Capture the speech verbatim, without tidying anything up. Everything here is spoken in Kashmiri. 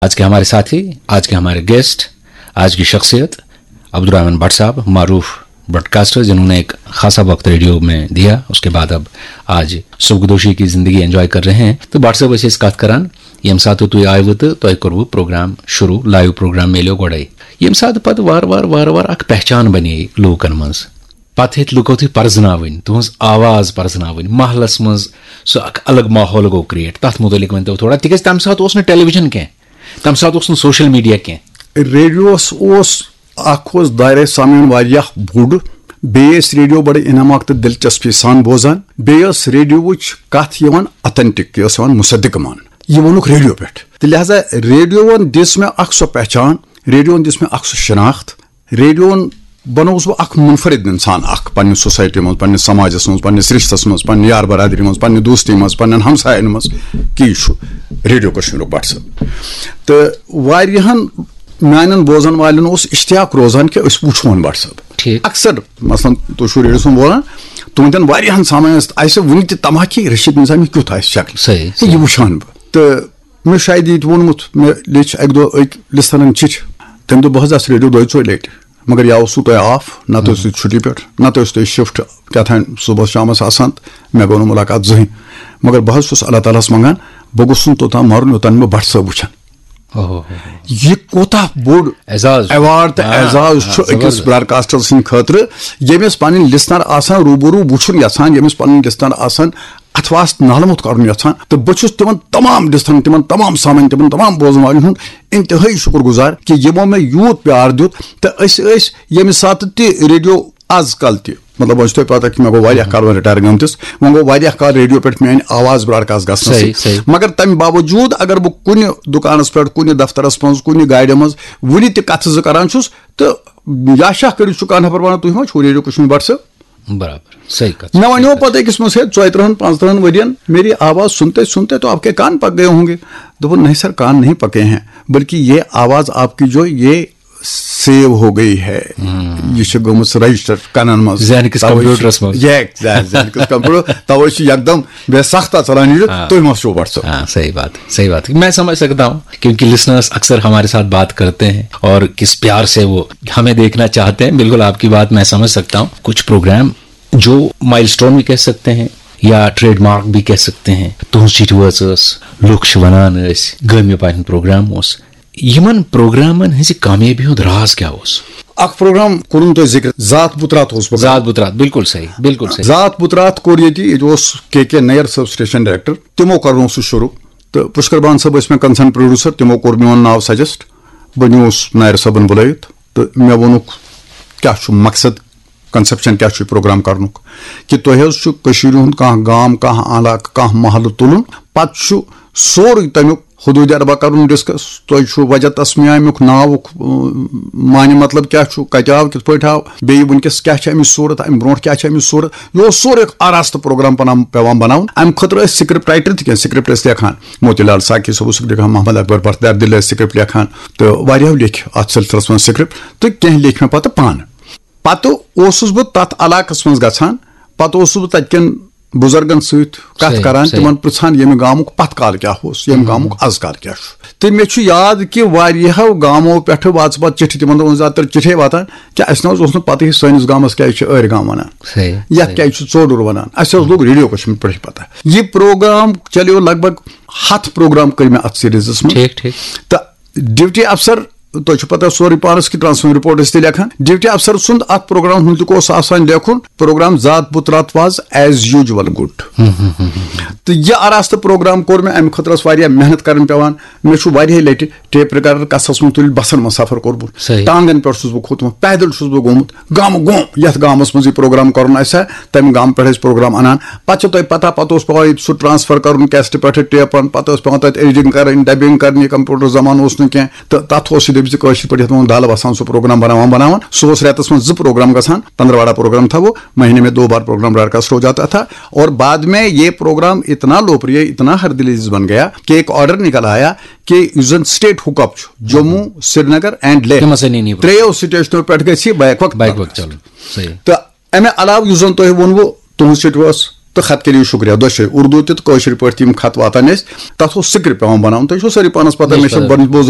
आज के हमारे साथी, आज के हमारे गेस्ट, आज की शख्सियत अब्दुल रहमान भट्ट साहब, मारूफ ब्रॉडकास्टर, जिन्होंने एक खासा वक्त रेडियो में दिया। उसके बाद अब आज सुखदोशी की जिंदगी एंजॉय कर रहे हैं। तो भट्ट साहब, ऐसे इस कथ करान, यम साथ तो आयु तो तय करव प्रोग्राम शुरू, लाइव प्रोग्राम मेलो गोड़े। यम साथ पत वार वार वार वार अख पहचान बने लोकन मंज। पत हेत लुको थी परजनावन, तुहंज आवाज परजनावन, महलस मंज सो अख अलग माहौल गो क्रिएट। तथ मुतलिक वन तो थोड़ा, तिकज तम साथ ओस न टेलीविजन के, तम साथ ओस न सोशल मीडिया के। ریڈیوس اوس، اکھ اوس دایرہ سامعین واریاہ بوٚڑ، بیٚیہِ ٲسۍ ریڈیو بڑٕ انعاماک تہٕ دلچسپی سان بوزان، بیٚیہِ ٲس ریڈیووٕچ کتھ یِوان اتھنٹک، یہِ ٲس یِوان مصدق ماننہٕ، یہِ ووٚنُکھ ریڈیو پٮ۪ٹھ۔ تہٕ لہذا ریڈیوون دِژ مےٚ اکھ سۄ پہچان، ریڈیوون دِژ مےٚ اکھ سۄ شناخت، ریڈیوون بنووُس بہٕ اکھ منفرد انسان اکھ پننہِ سوسایٹی منٛز، پننہِ سماجس منٛز، پننِس رشتس منٛز، پننہِ یار برادری منٛز، پننہِ دوستی منٛز، پننٮ۪ن ہمساین منٛز، کہِ یہِ چھُ ریڈیو کشمیٖرُک بٹ صٲب۔ تہٕ واریاہن میانٮ۪ن بوزن والٮ۪ن اوس اشتیاق روزان کہِ أسۍ وٕچھون بٹ صٲب۔ ٹھیٖک۔ اکثر مثلاً تُہۍ چھِو ریڈیو سُنٛد بولان، تُہنٛدٮ۪ن واریاہن سامعین ٲسۍ، آسہِ وُنہِ تہِ تما کہِ رشید نظامی کیُتھ آسہِ شکل۔ صحیح، ہے، یہِ صحیح۔ وٕچھان بہٕ۔ تہٕ مےٚ شاید یہِ تہِ ووٚنمُت، مےٚ لیٚچھ اکہِ دۄہ أکۍ لسنرن چِٹھۍ۔ تمہِ دۄہ بہٕ حظ آسہٕ ریڈیو دۄیہِ ژورِ لٹہِ، مگر یا اوسوٕ تۄہہِ آف، نتہٕ ٲسِو تُہۍ چھُٹی پٮ۪ٹھ، نتہٕ ٲسِو تُہۍ شفٹ کیٛاہ تام صُبحس شامس آسان، تہٕ مےٚ گوٚو نہٕ مُلاقات زٕہٕنۍ۔ مگر بہٕ حظ چھُس اللہ تعالیٰ ہس منٛگان، بہٕ گوٚژھُس نہٕ توٚتام مرُن یوٚتام نہٕ مےٚ بٹ صٲب وٕچھن۔ اوہ۔ یہِ کوٗتاہ بوٚڑ اعزاز چھُ۔ ایوارڈ تہٕ آ، اعزاز آ، چھُ أکِس زبردست۔ براڈکاسٹر سٕنٛدِ خٲطرٕ، ییٚمِس پنٕنۍ لسنر آسان روٗبروٗ وٕچھُن یژھان، ییٚمِس پنٕنۍ لسنر آسان اتھٕ واسطہٕ نالہٕ موٚت کرُن یژھان۔ تہٕ بہٕ چھُس تِمن تمام لسنرن، تِمن تمام سامعین، تِمن تمام بوزن والٮ۪ن ہُنٛد انتہٲئی شُکر گُزار کہِ یِمو مےٚ یوٗت پیار دیُت۔ تہٕ أسۍ ٲسۍ ییٚمہِ ساتہٕ تہِ ریڈیو، از کل تہِ، مطلب، وۄنۍ چھِ تۄہہِ پتہ کہِ مےٚ گوٚو واریاہ کال وۄنۍ رِٹایر گٔمتِس، وۄنۍ گوٚو واریاہ کال ریڈیو پٮ۪ٹھ میٲنۍ آواز براڈکاسٹ گژھنَسٕے۔ صحیح، صحیح۔ مگر تمہِ باوجوٗد اگر بہٕ کُنہِ دُکانس پٮ۪ٹھ، کُنہِ دفترس منٛز، کُنہِ گاڑِ منٛز وُنہِ تہِ کتھٕ زٕ کران چھُس، تہٕ یا شاہ کٔرِتھ چھُ کانٛہہ نفر ونان، "تُہۍ ما چھِو ریڈیو کشمیر بٹ صٲب؟" برابر، صحیح کتھ۔ مےٚ ونیو پتہٕ أکِس منٛز، ہے، ژۄیہِ ترٕہن پانٛژترٕہن ؤرین میری آواز سنتے سنتے تو آپ کے کان پک گئے ہوں گے۔ دوٚپُن، "نہیں سر، کان نہیں پکے ہیں، بلکہ یہ آواز آپ کی جو یہ سیو ہو گئی ہے، یہ چھِ گٔمٕژ رجسٹر کنن منٛز۔" ذہن کِس توے چھُ، کمپیوٹرس منٛز۔ یہ ذہن، ذہن کِس کمپیوٹر، توے چھُ یکدم بے سخت ژلان یہِ، آ۔ تُہۍ ما چھِو بٹ صٲب؟ ہاں، صحیح بات، صحیح بات۔ میں سمجھ سکتا ہوں، کیونکہ لسنرز اکثر ہمارے ساتھ بات کرتے ہیں اور کس پیار سے وہ ہمیں دیکھنا چاہتے ہیں۔ بالکل آپ کی بات میں سمجھ سکتا ہوں۔ کچھ پروگرام جو مائلسٹون بھی کہہ سکتے ہیں یا ٹریڈ مارک بھی کہہ سکتے ہیں، تُہنٛز چِٹھۍ وٲژ ٲس، لُکھ چھِ ونان ٲسۍ، گٲمہِ پارِ ہُنٛد پروگرام اوس۔ یِمن پروگرامن ہٕنٛزِ کامیٲبی ہُنٛد راز کیٛاہ اوس؟ اکھ پروگرام کوٚرُن تۄہہِ ذِکر، ذات بُترات اوس پروگرام۔ ذات بُترات، بالکل صحیح، بالکل صحیح۔ ذات بُترات کوٚر ییٚتہِ، ییٚتہِ اوس کے کے نیر صٲب، سٹیشن ڈائریکٹر، تِمو کوٚرنوو سُہ شروٗع۔ تہٕ پُشکر بان صٲب ٲسۍ مےٚ کنسرن پروڈیوسر، تِمو کوٚر میون ناو سجسٹ۔ بہٕ نیوٗس نیر صٲبن بُلٲوِتھ تہٕ مےٚ ووٚنُکھ، کیٛاہ چھُ مقصد، کنسپشن کیٛاہ چھُ یہِ پروگرام کرنُک؟ کہِ تۄہہِ حظ چھُ کٔشیٖرِ ہُنٛد کانٛہہ گام، کانٛہہ علاقہٕ، کانٛہہ محلہٕ تُلُن، پتہٕ چھُ سورُے تمیُک حدوٗدِ اربع کرُن ڈسکس۔ تۄہہِ چھُ وجہ تسمیہ امیُک ناوُک، اۭں، معنی مطلب کیٛاہ چھُ، کتہِ آو، کِتھ پٲٹھۍ آو، بیٚیہِ وٕنکیٚس کیٛاہ چھِ امِچ صوٗرت، امہِ برونٛٹھ کیٛاہ چھِ امِچ صوٗرت۔ یہِ اوس سورُے اکھ آراستہٕ پروگرام پنان، پٮ۪وان بناوُن۔ امہِ خٲطرٕ ٲسۍ سکرپٹ رائٹر تہِ کینٛہہ، سکرپٹ ٲسۍ لیکھان، موتی لال ساقی صٲب اوس سکرپٹ لیکھان، محمد اکبر بختیار دِل ٲسۍ سکرپٹ لیکھان، تہٕ واریاہو لیکھۍ اتھ سلسلس منٛز سکرپٹ، تہٕ کینٛہہ لیکھۍ مےٚ پتہٕ پانہٕ۔ پتہٕ اوسُس بہٕ تتھ علاقس منٛز گژھان، پتہٕ اوسُس بہٕ تتہِ کٮ۪ن بُزرگن سۭتۍ کتھ صحیح، کران، صحیح۔ تِمن پرژھان، ییٚمہِ گامُک پتھ کال کیٛاہ اوس، ییٚمہِ گامُک از کال کیٛاہ چھُ۔ تہٕ مےٚ چھُ یاد کہِ واریاہو گامو پٮ۪ٹھٕ واژٕ پتہٕ چِٹھِ، تِمن دۄہن زیادٕ تر چِٹھے واتان، کہِ اسہِ نہ حظ اوس نہٕ پتہٕے سٲنِس گامس کیٛازِ چھِ ٲرۍ گام ونان، صحیح، یتھ صحیح۔ کیٛازِ چھُ ژوٚڈُر ونان۔ اسہِ حظ لوٚگ ریڈیو کشمیر پٮ۪ٹھٕے پتہ۔ یہِ پروگرام چلیو لگ بھگ ہتھ پروگرام کٔرۍ مےٚ اتھ سیریزس منٛز۔ ٹھیٖک، ٹھیٖک۔ تہٕ ڈپٹی افسر، تۄہہِ چھُ پتہ سورُے پانس کہِ ٹرانسفر رپورٹ ٲسۍ تہِ لیکھان۔ ڈپٹی افسر سُنٛد اتھ پروگرام ہُنٛد تہِ اوس آسان لیکھُن، پروگرام ذات بُترات واز ایز یوٗجول گُڈ۔ تہٕ یہِ آراستہٕ پروگرام کوٚر مےٚ، امہِ خٲطرٕ ٲس واریاہ محنت کرٕنۍ پٮ۪وان۔ مےٚ چھُ واریاہہِ لٹہِ ٹیپ ریکارڈر کسس منٛز تُلِتھ بسن منٛز سفر کوٚرمُت۔ صحیح۔ ٹانگن پٮ۪ٹھ چھُس بہٕ کھوٚتمُت، پیدل چھُس بہٕ گوٚمُت۔ گامہٕ گوم، یتھ گامس منٛز یہِ پروگرام کرُن آسہِ ہا، تمہِ گامہٕ پٮ۪ٹھ ٲسۍ پروگرام انان۔ پتہٕ چھِ تۄہہِ پتہ، پتہٕ اوس پٮ۪وان ییٚتہِ سُہ ٹرانسفر کرُن کیسٹہٕ پٮ۪ٹھٕ ٹیپن، پتہٕ ٲس پٮ۪وان تتہِ ایڈیٹنگ کرٕنۍ، ڈبنگ کرٕنۍ، یہِ کمپیوٹر زمانہٕ اوس نہٕ کینٛہہ، تہٕ تتھ اوس یہِ دٔپِتھ زِ کٲشِر پٲٹھۍ یتھ وَنان دالہٕ وسان سُہ پروگرام بناوان بناوان۔ سُہ اوس رٮ۪تس منٛز زٕ پروگرام گژھان، پندروارہ پروگرام تھاوو، مہینے میں دو بار پروگرام براڈکاسٹ ہو جاتا تھا، اور بعد میں یہ پروگرام اتنا لوکپریہ، اتنا ہر دل عزیز بن گیا کہ ایک آرڈر نکل آیا کہ یُس زن سٹیٹ ہُک اپ چھُ، جموں، سرینگر اینڈ لیہ، تِم ہسا نِنۍ یہِ ترٛیٚیو سٹیشنو پٮ۪ٹھ گژھِ یہِ بیک وقت بیک وقت چلُن۔ صحیح۔ تہٕ امہِ علاوٕ یُس زن تۄہہِ ووٚنوُ، تُہنٛز سیٹ ٲس تہٕ خط کٔرِو شُکریہ دۄشوے، اردو تہِ تہٕ کٲشِر پٲٹھۍ تہِ یِم خط واتان ٲسۍ، تَتھ اوس سکرپٹ پٮ۪وان بَناوُن۔ تۄہہِ چھو سٲری پانَس پَتہ، مےٚ چھِ بوزُن